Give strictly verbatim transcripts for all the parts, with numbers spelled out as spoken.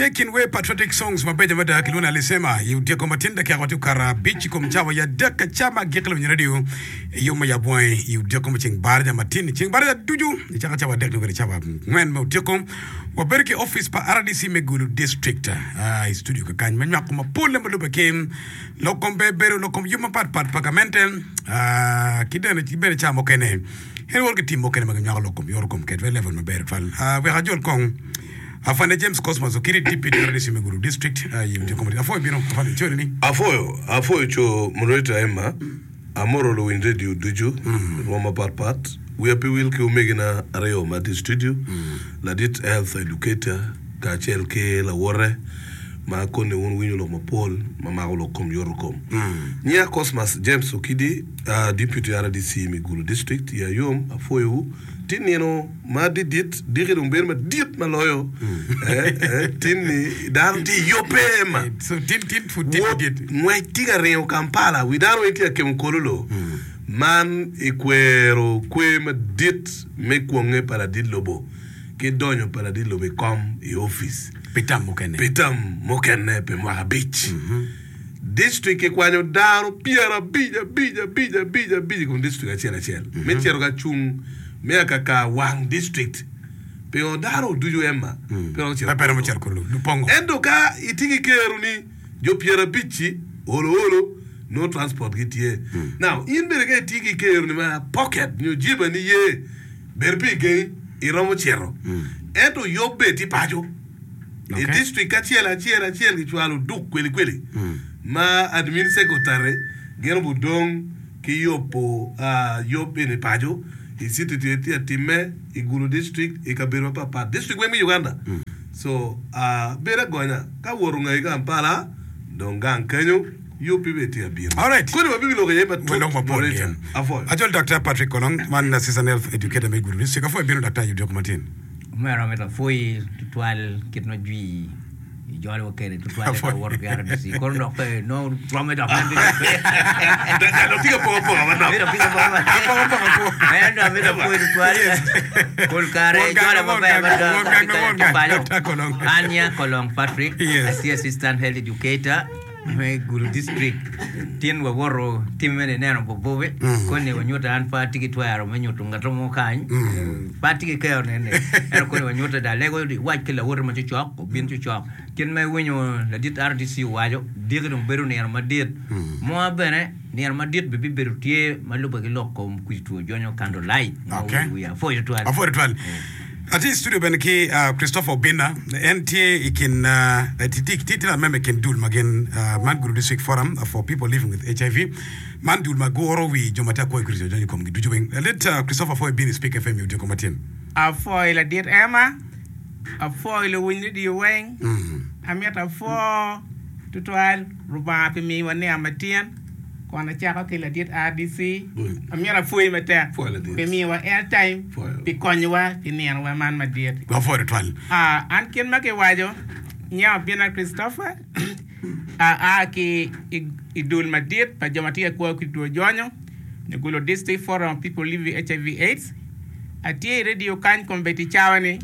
Tye kin wer patriotic songs mabeco mada kilwongo ni Alisema i odyeko matin dakika watye okato abic i kom cawa ya adek ka ca ma agikki lawiny radio i yub me yab wangi i odyeko me ceng baraja matin ceng baraja ducu i caka cawa adek nyo kwede cawa angwen me odyeko wabedo ki office pa R D C me Gulu District i studio kakany me nywako mapole ma lube ki lok kom ber bedo lok kom yub mapat pat pa gamente ki bene ca mukene en woto ki tim mukene ma ginywako lok kom yoto kom ked level maber tutwal. Wek ajol kong Afande James Cosmas Okidi, D P R D C me Gulu District i odyeko matin. Afoyo bino afande coni ni. Afoyo, afoyo co moderator Emma, amoro luwiny radio ducu, rwom mapat pat. Wiya pe wil ki omegina aryo ma tye i studio, ladit health educator kacel ki lawote ma koni wun winyo lok mapol ma mako lok kom yoto kom. Nyinga Cosmas James Okidi, uh, Deputy R D C me Gulu District, iya yom, afoyowu. Ti nino ma didit, diki dong bedo madit ma loyo. Eh, eh, tin ni dano tye i yubbe Emma. So tin tin pud tin Wot didit. Ngwec tye ka ringo Kampala, wi dano weng tye ka kemo kololo. Man i kwero kwer madit me kwonge pa ladit lobo ki donyo pa ladit lobo i kom i opic. Pi tam mukene. Pi tam mukene pi mwaka abic. District kikwanyo dano pyerabic abic abic abic abic i kom district acel acel me cito ka cung me akaka wang district. Pingo dano ducu Emma pe romo cito Pe romo cito kololo. Lupongo. Ento ka itye ki keroni jo pyerabic-ci olo olo nongo transport gitye. Now in bene ka itye ki keroni ma pocket nyo jibani ye bedo pe igengi iromo cito. Ento yubbe tye paco. I district acel acel acel kicwalo duk kweli kweli ma admin secretary gin obudong ki yubo yub eni paco i city tye tye atimme i Gulu district i kabedo mapat pat district weng me Uganda so bedo agonya ka wot ongayi Kampala dong gang kenyo yub-bi bene tye abino. Alright. Koni wabibi lok iye matut. Walok mapol Moderator, gin. Apwoyo. Acol Doctor Patrick Kolong, man Assistant Health Educator me Gulu District. Apwoyo bino Doctor i odiko matin. Omera mito apwoyi tutwal kit ma jwi ijolowa kwede tutwal ka wawoto ki R D C kono dok pe nongo romme dok en Dok tye ka poko apoka manok. En dok mito apwoyi tutwal pol kare ijola maber mada ka paco. An nya Kolong Patrick, atye assistant health educator me Gulu District. Tin wawoto tim mene neno bobobe koni wanyuto an pe atye ki twero me nyuto ngat mo kany pe atye ki kero nene ento koni wanyuto da alego iwac ki lawoti ma cocok obin cocok kit ma iwinyo ladit R D C owaco diki dong bedo nino madit moa bene nino madit bene bibedo tye ma lube ki lok kom kwidi two jonyo candle light ma Okay. wiye apwoyo tutwal. Apwoyo tutwal. Atye i studio bene ki uh, Christopher Obinna. En tye i kin uh, tye tye tye lamemba i kin dul ma gin uh, man Gulu District Forum for People Living with H I V. Man dul ma guro wi jo ma tye akwo i kwidi two jonyo i komgi ducu weng. Ladit uh, Christopher apwoyo bino i Speak F M i odiko matin. Apwoyo ladit Emma, apwoyo luwiny radio weng, amito apwo tutwal Rubanga pi miyowa nino matin kun acako ki ladit R D C amito apwoyi matek Pwoyo ladit. Pi miyowa airtime Pwoyo. Pi konyowa pi ninowa man madit. Wapwoyo tutwal. Ah, an kit ma kiwaco nyinga Obinna Christopher aa ki i, i dul madit pa jo ma tye ka kwo ki two jonyo Gulu District Forum of People Living with H I V AIDS. Atye i radio kany kombeddi cawa ni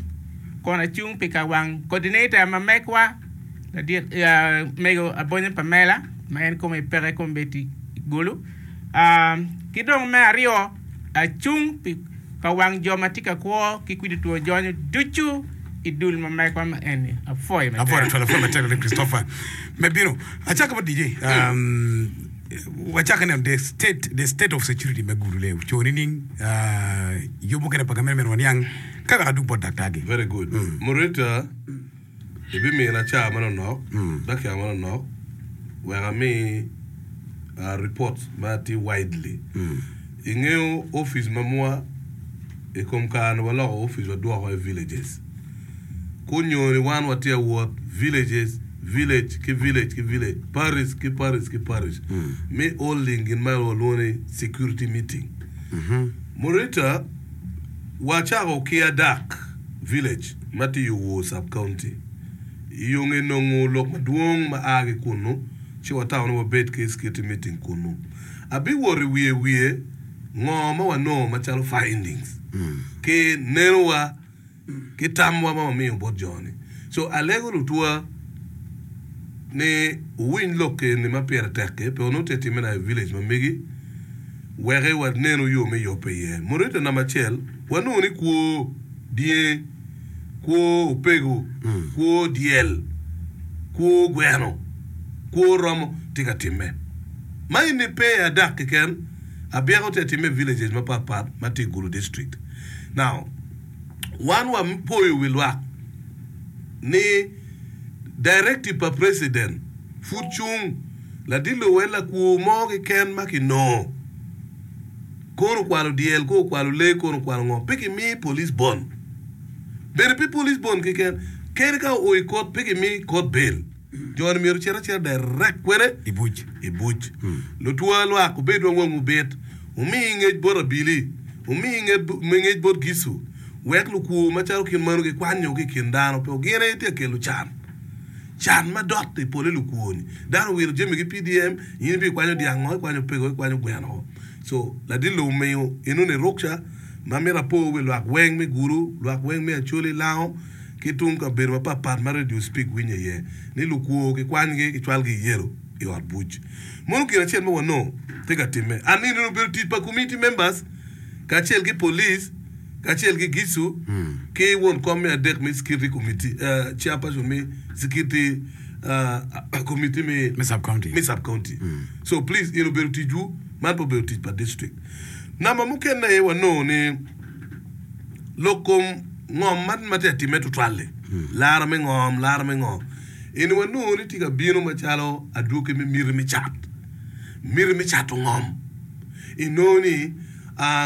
kun acung pi ka wang coordinator ma megwa ladit uh, mego Abonyo Pamela ma en kome peke kombeddi i Gulu. Ah, ki dong me aryo acung pi ka wang jo ma tye ka kwo ki kwidi two jonyo ducu i dul ma megwa ma eni apwoyo Apwoyo matek. Tutwal, apwoyo matek ladit Christopher me bino. Acako bot D J. Um, wacako neno the state the state of security me Gulu le co nining uh, yub mukene pa gamente meno waniang ka wek adug bot daktar-gi. Very good. Moderator, ibimina ca manonok, dakika manonok, wek ami uh, report ma tye widely. Ingeyo office ma mwa i kom kare ni waloko office wadwoko i villages. Kunyo ni wan watye awot villages, village ki village ki village, parish ki parish ki parish. Mi holding gin ma walwongo ni security meeting. Moderator, wacako ki Adak village ma tye i Owor sub county. I yo nge nongo lok madwong ma a ki kunu, ci watamo ni wabed ki security meeting kunu. Abiwot i wiye wiye ngo ma wanongo macalo findings ki nenowa ki tamwa ma wamiyo bot jo-ni. So alego lutwa ni wuwiny lok eni ma pire tek-ki, pe onongo tye timme na i village ma megi, wek wanenu yo me yubbe iye. Moderator namba acel, wanongo ni kwo dye, kwo opego, kwo dyel, kwo gweno, kwo romo tye ka timme. Ma eni pe i adak keken, abyeko tye ka timme i villages mapat pat ma tye i Gulu district. Now, wan wapoyo wi lwak ni directive pa president pud cung ladit lobo en lakwor mo keken ma kinongo kono okwalo dyel kono okwalo lee kono okwalo ngo pe kimi police bond bene pe police bond keken kadi ka oo i court pe kimi court bail Jo-ni myero ocit acita direct kwene I buc. i buc. Lutwa lwak wubed wa wangwu bit, wumi ngec bot abili, wumi ngec bot gicu, wek lukwo macalo kit meno gikwanyo ki i kin dano, pe gin aye tye ka kelo can. Can ma dot i pole lukwo-ni. Dano owilo jami ki P D M, in ibikwanyo dyang ngo, ikwanyo opego, ikwanyo gweno ngo. So, ladit lobo omiyo enoni rukca ma mito apo wi lwak weng me Gulu, lwak weng me Acholi, Lango, ki tung kabedo mapatpat ma Radio Speak winyo iye ni lukwo kikwanygi kicwalgi i yelo i ot buc. Mono gin acel ma wanongo tye ka timme. And nino obedo tic pa community members kacel ki police kacel ki G I C U ki won kom me adek me security committee, uh, chairperson me security uh, committee me, Me sub-county. Me sub-county. So please, in obedo ticwu, man pe obedo tic pa district. Namba mukene aye wanongo ni lok kom ngom man ma tye ka timme tutwal-li, lara me ngom, lara me ngo, eni wanongo ni tye ka bino macalo adwogi me miti me cat, miti me cato ngom. Inongo ni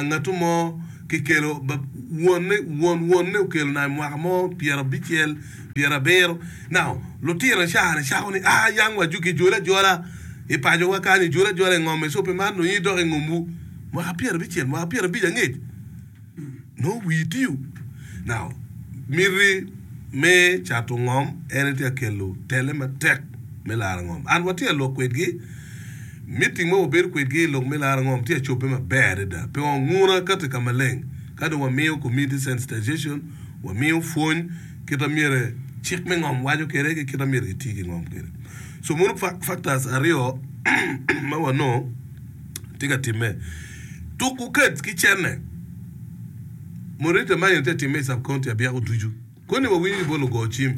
ngatu mo kikelo wonne, won wonne okelo nai mwaka mo pyerabicel, pyerabiro. Now, lutino ca-ni cako ni, ah, yang wa kijole ajola i pacowa kany, ijole ajola i ngom-mi, so pi man dong in idok i ngomwu mwaka pyerabicel, mwaka pyerabic angec. Nongo wii tiyo. Now, miti me cato ngom en aye tye ka kelo tele matek me laro ngom. An watye ka lok kwedgi, meeting ma wabedo kwedgi i lok me laro ngom tye ka cobbe maber adada. Pingo nguna kati ka maleng ka dong wamiyo community sensitization, wamiyo pwony kit ma myero cik me ngom waco kwede ki kit ma myero kiti ki ngom kwede. So mono factors aryo ma wanongo tye ka timme. Tuku kec ki cene. Moderator man eni tye ka timme i sub county abyeko ducu. Koni wawinyo ki bot lugo cim.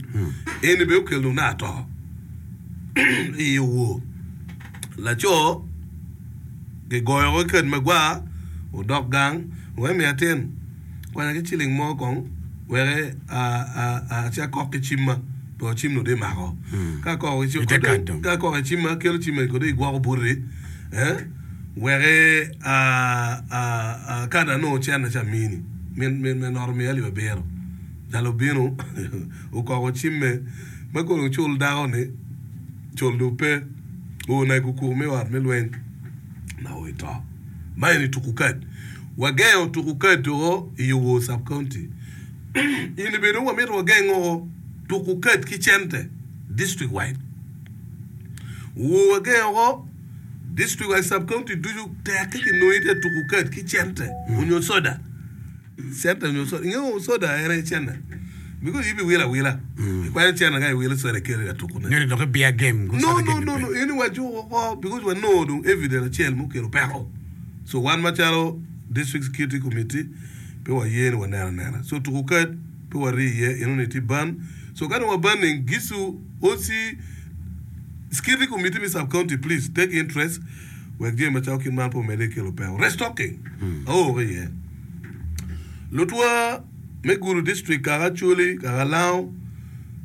Eni bene okelo dong naka to i owor. Laco kigoyo ki kec magwar odok gang wek emiya atin kwanya ki ciling mo kong wek aci akok ki cimma pien cim nongo dong imako. Ka akoko ki cimma kelo cimma eni kong dong igwoko buti. Wek ka dong anongo cente ci amini. Min ot omiya alip abiro. Jal obino okoko cimme ma kono ocul dako-ni, cul dong pe. Oo na i kukuku me ot me lweny na oo i to. Ma eni tuku kad. Wagengo tuku kad woko i Owor Sub County. Eni bene dong wamito wageng woko tuku kad ki cente district wide. Owor wagengo woko. District wa i sub county ducu tek ki kinongo itye tuku kad ki cente onyo soda. Cente onyo soda. Ingeyo soda en aye cente. Because ibi wilo awila. Ikwanyo cente ka iwilo soda ikelo ka tuku ne. Nyo ni dok ibiya game. No no no no eni wajuko woko because wanongo dong evidence acel mukelo peko. So wan macalo district security committee pe waye ni waneno anena. So tuku kad pe wari iye eno ni tye ban. So ka dong wa banning gicu O C Security committee me sub county please take interest wek jami macalo kit man pe omedde ki kelo peko. Restocking aoo ki iye. Lutwa me Gulu district kaka Acholi, kaka Lango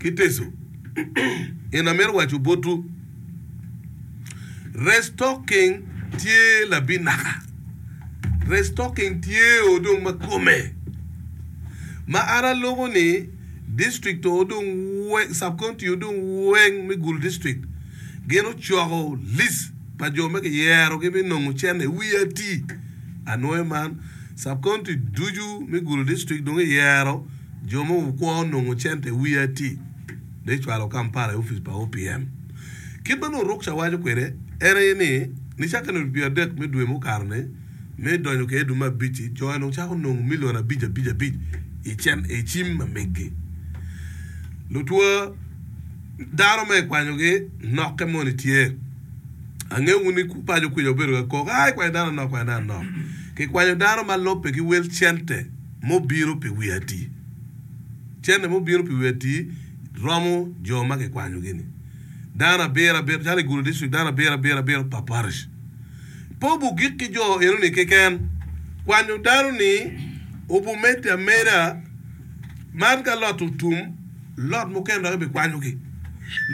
ki Teso en amito waco botwu restocking tye labinaka. Restocking tye o dong ma kome ma an aloko ni District o dong weng, sub county o dong weng me Gulu district gin ocoko list pa jo ma kiyero gi me nongo cene i wi ati. Anwoyo man, sub county ducu me Gulu district dong iyero jo ma okwongo nongo cente i wi ati dong icwalo Kampala i opic pa O P M. Kit ma nongo Rukca waco kwede en aye ni nicakke nino pyera adek me dwe mukato ni, Me donyo kwede i dwe me abic-ci, jo-ni ocako nongo milion abic abic abic i cen i cim ma meggi. Lutwa dano ma ikwanyogi nokke moni tye. Angeyo wun ni paco kwica wubedo ka kok, 'Aa, ikwanyo dano anok, ikwanyo dano anok. Kikwanyo dano ma lubbe ki wel cente mubino pi wi ati. Cente mubino pi wi ati romo jo ma kikwanyogi-ni. Dano abiro abiro, calo i Gulu District, dano abiro abiro abiro pa parish. Pe obugik ki jo enoni keken. Kwanyo dano-ni obumedde ameda man ka lot otum, lot mukene dok ibikwanyogi,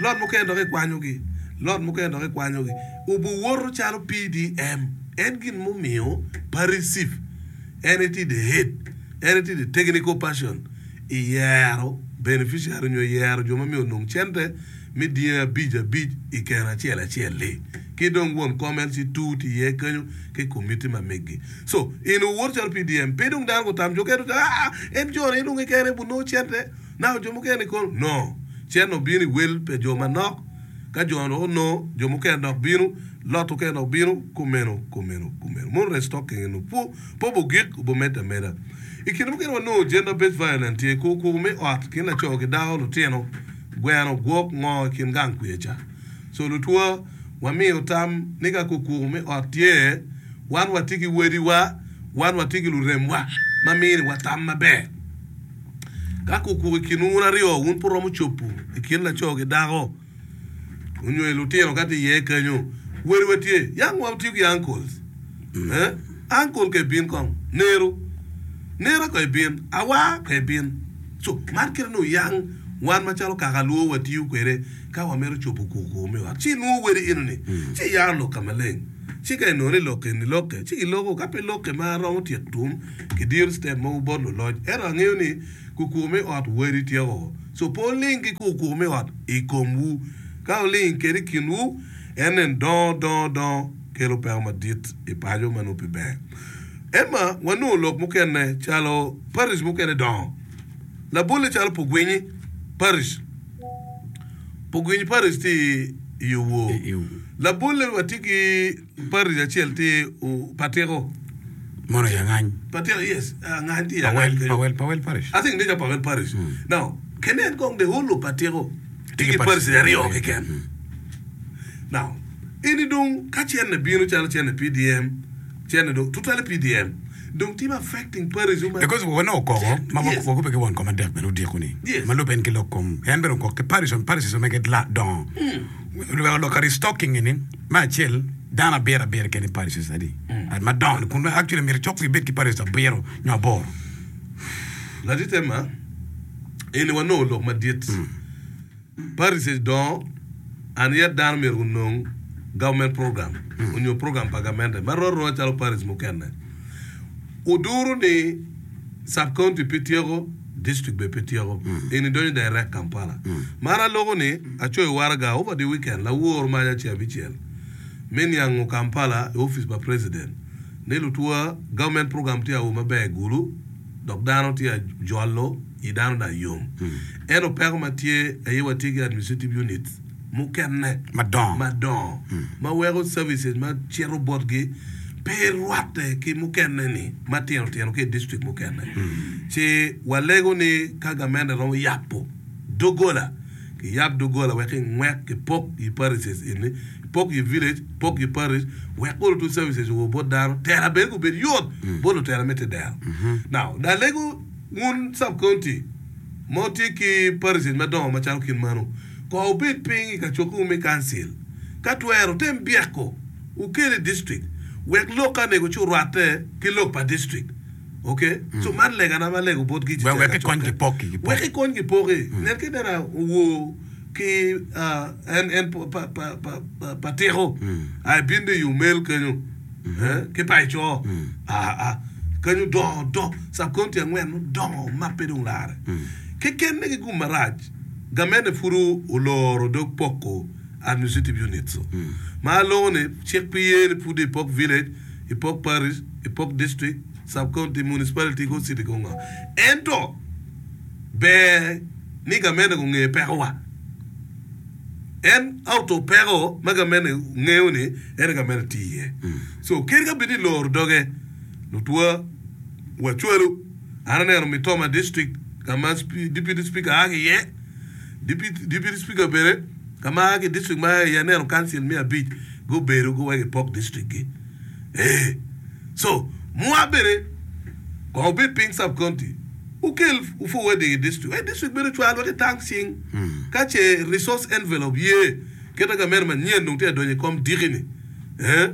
lot mukene dok ikwanyogi, lot mukene dok ikwanyogi. Obuwoto calo P D M. En gin mumiyo parish chief en aye tye the head, en aye tye the technical person i yero beneficiary nyo yero jo ma myero onong cente me dyangi abic abic i keno acel acel-li. Ki dong won kom L C two tye iye kenyo ki komiti ma megi. So, in owot calo P D M, pe dong dano gutam jo kene ah, en jo-ni dong kekene bunongo cente, naka jo mukene kono. No, cente obino i wel pa jo manok, ka jo dok onongo, jo mukene dok bino, lot mukene dok bino, kumeno, kumeno, kumeno. Mono restocking eno po, po bugik obumedde ameda. I kine mukene wanongo gender based violence tye kuku me ot kin laco ki dako, lutino, gweno, gwok, ngo i kin gang kwica ca. So lutwa wamiyo tam ni ka kuku me ot tye, wan watye ki wadiwa, wan watye ki luremwa ma miniwa tam maber. Ka kuku i kinwu wun aryo, wun pe wuromo cobo i kin laco ki dako onyo i lutino ka tye iye kenyo, wadiwa tye. Yang watiyo ki uncles. Eh? Uncle ka ibin kong, nero. Nera ka ibin, awa ka ibin. So, man kite nongo yang wan macalo kaka luo watiyo kwede ka wamito cobo kuku me ot. Ci inwongo wadi eno-ni, ci iyaro lok ka maleng. Ci ka inongo ni lok eni lokke, ci giloko. Ka pe lokke ma romo tyeko tum, kidiro step mogo bot luloc. Ento angeyo ni kuku me ot wadi tyeko. So pe wuling ki kuku me ot i komwu. Ka wuling kede i kinwu, en nen dongo dongo dongo kelo peko madit i paco ma nongo pe ber. Emma wanongo lok mukene calo parish mukene dongo. Labolle calo Pugwinyi Parish. Pugwinyi Parish tye i Owor. Labolle watye ki parish acel tye Patiko. Mono i Angany. Patiko, yes. Angany tye i Angany kenyo. Pawel, Pawel Parish. I think neca Pawel Parish. Now, kenen kong the whole of Patiko tye ki parish aryo keken. Now, eni dong ka cene bino calo cene P D M, cene dong tutwale P D M dong tye affecting parish ma Because wanongo koko ma Yes. wakubbe ki won kom adek bene odiko ni Yes. ma lubbe en ki lok kom en bene okok ki parish on parishes omege la dongo weko lok ka restocking ni me acel dano abiro abiro kene i parishes adi madongo ni kun actually myero cok ibed ki parishes abiro nyo aboro. Ladit Emma, eni wanongo lok madit. Parishes dongo and yet dano myero gunong government program onyo program pa gamente ma rot arota calo parish mukene. Oduro ni sub county pe tyeko, district bene pe tyeko. Eni donyo direct Kampala. Man aloko ni acoyo waraga over the weekend lawor maca ceng abicel me niango Kampala i office pa president ni lutwa government program tye awo maber i Gulu dok dano tye ajolo i dano dong yom. Ento peko ma tye aye watye ki administrative units mukene madongo madongo ma weko services ma cito botgi pe rwatte ki mukene ni matino tino ki i district mukene. Ci walego ni ka gamente romo yabo dogola, kiyab dogola wek kingwek kipok i parishes eni, pok i village, pok i parish wek olo tu services owo bot dano tela bene gubed yot bot lutela me tedero. Now, alego wun sub county ma wutye ki parishes madongo macalo kit mano, ko wubed piny i kacokkewu me council ka twero tem byeko wukel i district wek lok ka nego ci orwatte ki lok pa district. Okay? So man legana ma alego botgi ci Wek wek kikony kipoki kipoki. Wek kikony kipoki. Nen ki nena owor ki ah, en en pa pa pa pa pa patiko. Ai bin de i Umel kenyo. Eh, ki Paico. Ah ah. Kenyo dongo dongo sub county angwen odongo ma pe dong lare. Keken ni ki gum marac gamente pud oloro dog poko administrative units. Ma alongo ni cik pe ye ni pud ipok village, ipok parish, ipok district, sub county, municipality ko city ko ngo. Ento ber ni gamente gunge pekowa. En auto peko ma gamente ngeyo ni en gamente tye iye. So kadi ka bed ni loro doge lutwa wacwalo an aneno Mitoma district ka ma deputy speaker a ki iye. Deputy Speaker bene ka ma a ki i district ma a iye aneno council me abic gubedo guweko i pok district gi ee so mwa bene kong wubed piny sub county wukel forwarding i district wek district bene ocwal wek itang cing ka ce resource envelope ye kite gamente manyen dong tye ka donyo i kom diki ni ee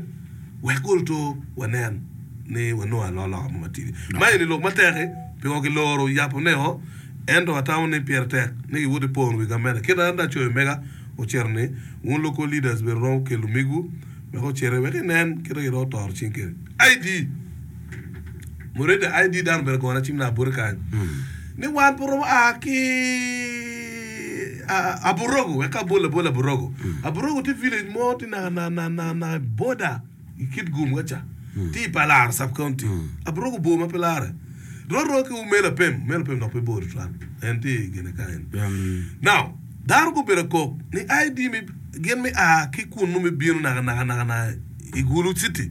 wek guluto wanen ni wanongo alokaloka mo matidi ma eni lok matek-ki pingo kiloro yabo ne o ento atamo ni pire tek ni giwot i pono wi gamente kit an acoyo mega ocito ni wun local leaders bene romo kelo migwu wek ociti wek inen kite giromo toro cing kede I D moderator I D dano obedo gona cim na bote kany ni wan pe romo a ki Aburogo wek ka abol abol Aburogo Aburogo tye village mo tye naka naka naka border i Kitgum ka ca tye i Palar sub county Aburogo bor ma pe lare roro ki Umelo Apem Umelo Apem dok pe bor tutwal en tye i gine kany now dano gubedo kok ni I D mi gin mi a ki kunu mi bino naka naka naka naka i Gulu city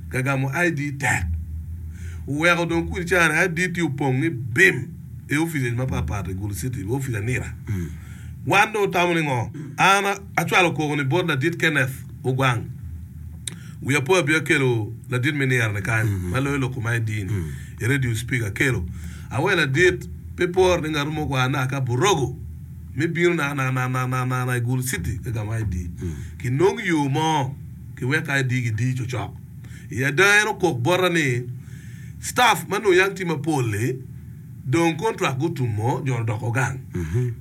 ka gamo I D tek oweko dong kudi cani I D tye opong ni bim i offices mapat pat i Gulu city office anira wan dong otamo ni ngo an acwalo koko ni bot ladit Kenneth Ogwang wiya po abia kelo ladit me nira ni kany ma loyo lok kom I D ni i radio speaker kelo awe ladit pe por ni ngatu mo kwa na ka Burogo mi bino na na na na na na na i Gulu city ka gamo I D kinong yo mo kiwek I D gidi cocok i ada en okok bota ni staff ma nongo yang tye mapol-li dong contract gutumo jo odoko gang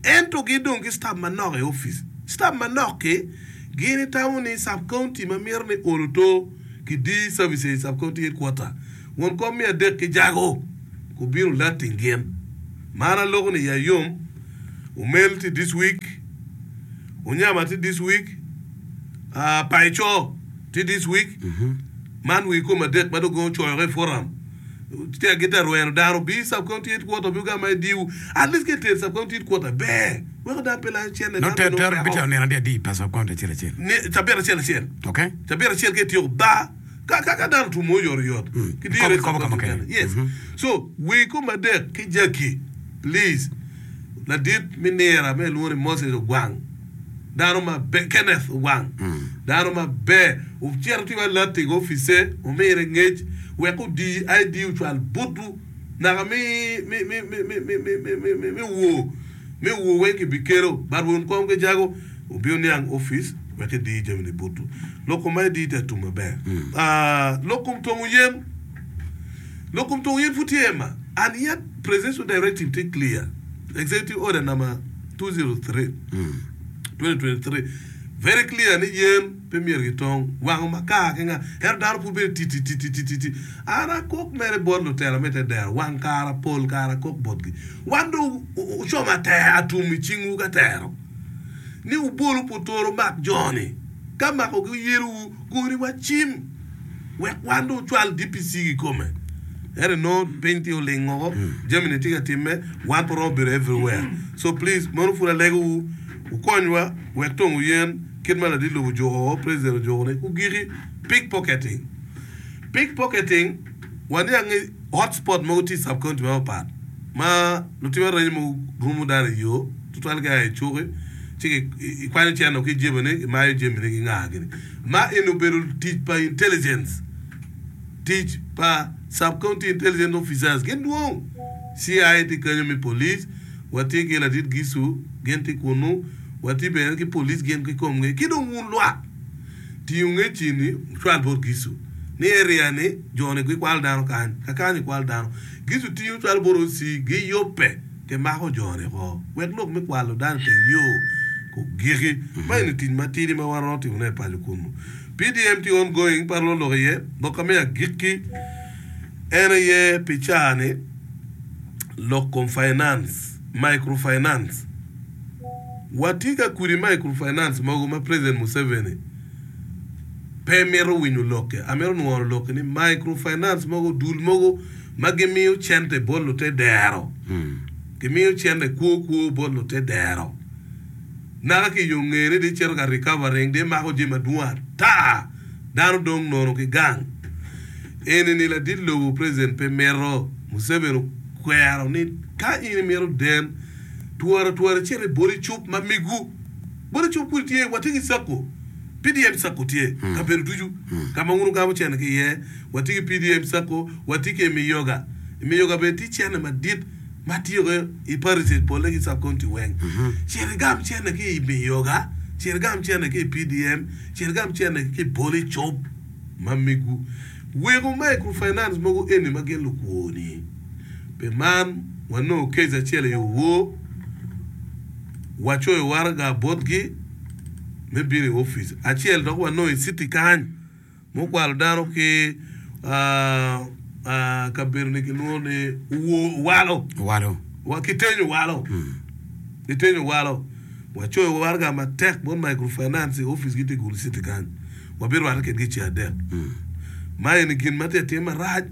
ento gidong ki staff manok i office staff manok-ki gin itamo ni sub county ma mito ni olo to kidi services sub county headquarter won kom me adek ki jago kubino lating gin man aloko ni ya yom Umel tye this week Unyama tye this week uh, Paico tye this week man wi kom adek ma dong ocoyo i forum tye gitye rweno dano bi sub county headquarter bi gama idiwu at least ke ter sub county headquarter ber weko dano pe layo cene No ter ter bitero nino adi adi pa sub county acel acel. ni cabit acel acel Okay? cabit acel ke tiyo ba ka ka ka dano tumo oyot oyot Mm. Ki dire Kobo- kobo kama kene. Yes. So wi kom adek ki jaki please ladit mi nira me luongo ni Moses Ogwang dano maber Kenneth Ogwang dano maber ocito tye alerting office omire ngec wek odi I D ocwal butu naka mi mi mi mi mi mi mi mi mi mi mi wo mi wo weng kibikelo but won kom ki jago obino niang office wek idi jami ni butu lok kom I D tye atum maber. Ah, lok kom tongo yen lok kom tongo yen pud tye ma and yet presidential directive tye clear, executive order number two zero three twenty twenty-three very clear ni yen pe myero gitong wango makar ki nga ento dano pud bedo titi titi titi titi an akok mere bot lutelo me te dero wang kara pol kara akok botgi wan dong ucomo ater atum i cingwu ka tero ni wubolu putoro mak joni ka makogi yelowu gori wa cim wek wan dong ocwal D P C kikome ento no piny tye oling oko jami ni tye ka timme wan pe romo bedo everywhere. So please mono pud alegowu ukonywa wek tongo yen kit ma ladit lobo ojuko president ojuko ni kugiki pickpocketing. Pickpocketing waniang ni hotspot mogo tye i sub county mapat ma lutim arenyo mogo rumo dano i yo tutwal ka i cuki ci ki- ikwanyo ceno ki jebene imayo jamine ki nga gini ma eni obedo tic pa intelligence, tic pa sub county intelligence officers gin dwong C I tye kanyo mi police watye ki ladit gisu gin tye kunu watye bene ki police gin kikomgi ki dong wun lwak tingo ngecini cwal bot gisu ni area ni joni gikwalo dano kany kakany ikwalo dano gisu tingo cwalo bot O C giyubbe kimako joni ko wek lok me kwalo dano i teng yo kugiki ma eni tic matidi ma wan romo timone i paco kunu. P D M tye ongoing par lok iye lok ka me agikki en aye pi caa-ni lok kom finance, microfinance. Watye ka kudi microfinance mogo ma President Museveni pe mito winyo lokke amito nworo lokke ni microfinance mogo dul mogo ma gimiyo cente bot lute dero gimiyo cente kwo kwo bot lute dero naka ki yo ngene di cito ka recovering di mako jami madwong ata dano dong nono ki gang eni ni ladit lobo president pe mito Museveni okwero ni ka in imito den Twara twara icit i boli cup ma megu. Boli cup kudi tye, watye ki cakko. PDM cakko tye kabedo ducu ka ma wun wugamo cene ki iye. Watye ki PDM cakko, watye ki i Miyoga. I Miyoga bene tye cene madit ma tye i parishes polle ki sub county weng. Cit igam cene ki i Miyoga, cit igam cene ki i PDM, cit igam cene ki i boli cup ma megu. Weko microfinance mogo eni ma gin lukwo-ni. Pi man, wanongo case acel i owor, wacoyo waraga botgi me bino i opic. Acel dok wanongo i citi kany mukwalo dano ki kabedo-ni kilwongo ni Owor Owalo. Owalo. Wa ki Tenyo Owalo. Ki Tenyo Owalo. Wacoyo waraga matek bot microfinance i opic-gi tye i Gulu citi kany. Wabirwatte kedgi i ceng adek. Ma eni gin ma tye ka timme marac.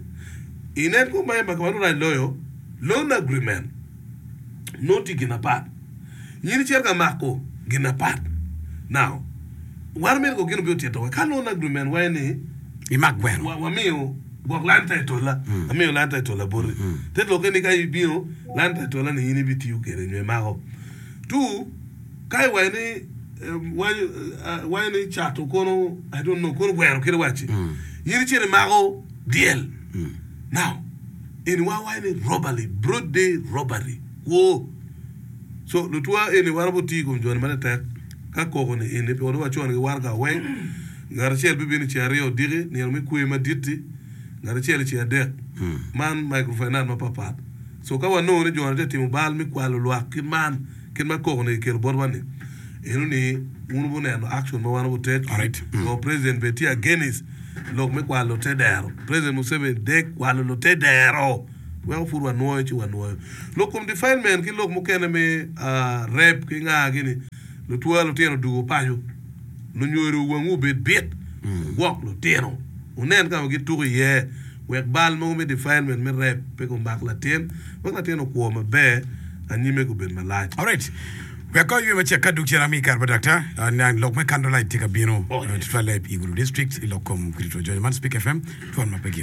Inen kong ma ma nongo rac loyo, loan agreement nongo tye gin apat. In icito ka mako gin apat. Now, wan omyero kong gin obi otito wa ka loan agreement waco ni Imak gweno. wa wamiyo gwok land title la, amiyo land title la boti. Te lokke ni ka ibino land title la ni in ibitiyo kwede nyo imako. Two, ka iwaco ni waco ni cato kono I don't know kono gweno kit iwaci, in icito imako dyel. Now, eni wa waco ni robbery, broad day robbery, kwo. So, lutwa eni waromo tiyo i kom joni matek ka koko ni eni, pien wacono ki waraga weng. Ngat acel bibino i ceng aryo odiki, nino me kwer madit-ti, ngat acel i ceng adek. Man microfinance mapapat. So, ka wanongo ni joni tye ka timo bal me kwalo lwak kit man, kit ma koko ni kikelo botwa ni, eno ni wun wubineno action ma wan wubutake. Alright. So, president bene tye against lok me kwalo te dero. President Museveni dek kwalo lute dero weko pud wanwoyo ci wanwoyo. Lok kom defilement ki lok mukene me rape ki nga gini, lutwa lutino odugo paco, lunyodo wangwu obed bit, wugwok lutino, wunen ka ma gituko iye wek bal mogo me defilement me rape pe gumak latin, wek latin okwo maber anyime gubed malac. Alright. Wek kong aywe macek ka dug cen ami kare pa daktar niang lok me candlelight tye ka bino Oh, yes. tutwalle i Gulu district i lok kom Kirito Jonyo man Speak FM twon ma pe gik.